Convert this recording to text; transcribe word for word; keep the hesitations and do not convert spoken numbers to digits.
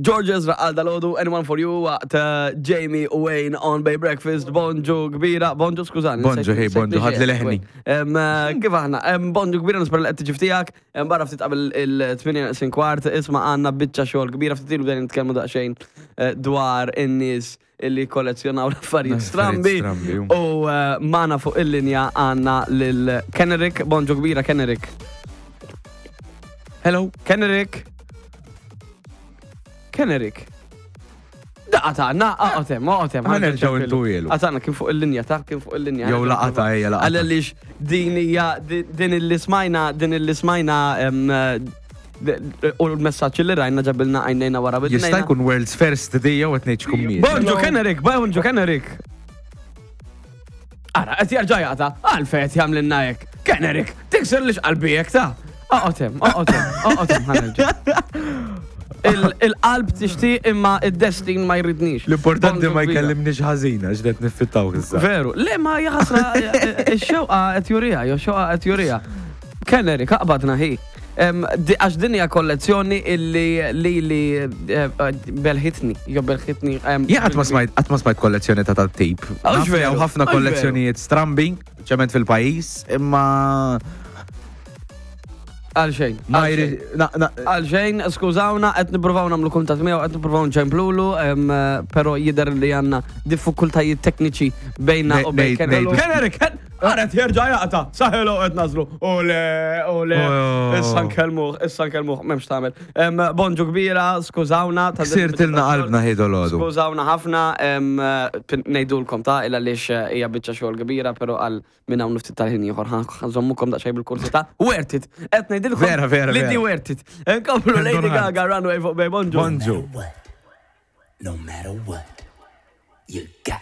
George Ezra għal dalgħodu, Anyone for You, waqt uh, Jamie u Wayne on Bay Breakfast, bonġu kbira, bonġu skużani. Bonġu, hey, bonġu, ħadli leħni. Em, uh, Kif aħna? Em, Bonġu kbira nispera li qed tiġi ftijak, em, barra ftit qabel il-tmienja neqsin kwart, isma' għandna biċċa xogħol kbira ftit ilu bdejna nitkellmu daqsxejn eh, dwar in-nies illi kollezzjonaw l-affarijiet strambi. Strambi, U uh, magħna fuq il-linja għandna lil Kennerik, bonġu kbira Kennerik. Hello. Kennerik. Kennerik. Daqata, na, aqotem, aqotem. Ħa nerġgħu intuwielu. Għatana kien fuq il-linja, ta' kien fuq il-linja. Jew laqata, ejja, laqata. Għalix din hija, din illi smajna, din illi smajna, em, d- u l-messaġġ li rajna ġabilna għajnejna wara Jista' bidnejna. jkun world's first day jew qed ngħid x'kummiet. Bonġu Kennerik, bonġu Kennerik. Ara, qed jerġa' jaqta' għalfejn qed jagħmlilna hekk. Kennerik, tiksir lix qalbi hekk ta' Oqgħod hemm, oqgħod hemm, oqgħod hemm ħa nerġa'. Il- Il-qalb tixtieq imma id-destin ma jridnix. L-importanti Bonġu ma kbira. jkellimniex ħażin għax qed niffittaw issa. Veru, le ma jaħasra ix-xewqa qed jurija, jew xewqa qed jurija. Kennerik, aqbadna hi. Em, di- Għax din hija kollezzjoni illi li li eh, belħitni, jew belħitni. em, Jien qatt ma smajt qatt ma smajt kollezzjoni ta' tat-tip. Għax Naf li hawn veru, ħafna għax kollezzjonijiet strambi, ċement fil-pajjiż, imma Għal xejn. ma għal xejn. jrid na- na- Għal xejn, skużawna, qed nippruvaw nagħmlu kuntatt miegħu, qed nippruvaw nċemplulu, em, però jidher li għandna diffikultajiet tekniċi bejna Ne- u bejn nej- Kennerik. nejdu. Kennerik, Għaret jerġa' jaqta' saħelu qed nażlu. Ole, ole, Oh. issa nkellmuh, issa nkellmuh, m'hemmx tagħmel. Em, Bonġu kbira, skużawna. ta' din Ksirtilna il-biċċa qalbna ħidu l-għodu. Skużawna ħafna, em, pin- ngħidulkom ta' illa lix hija biċċa xogħol kbira, però għal minn hawn ftit tal-ħin ieħor ħa nżommukom daqsxejn bil-kurżità. Worth it. Qed ngħidilkom Vera, vera, li di vera. worth it. Nkomplu Lady Don't hurt. Gaga Runway fuq Bay Bonġu. Bonġu. What? No matter what, you got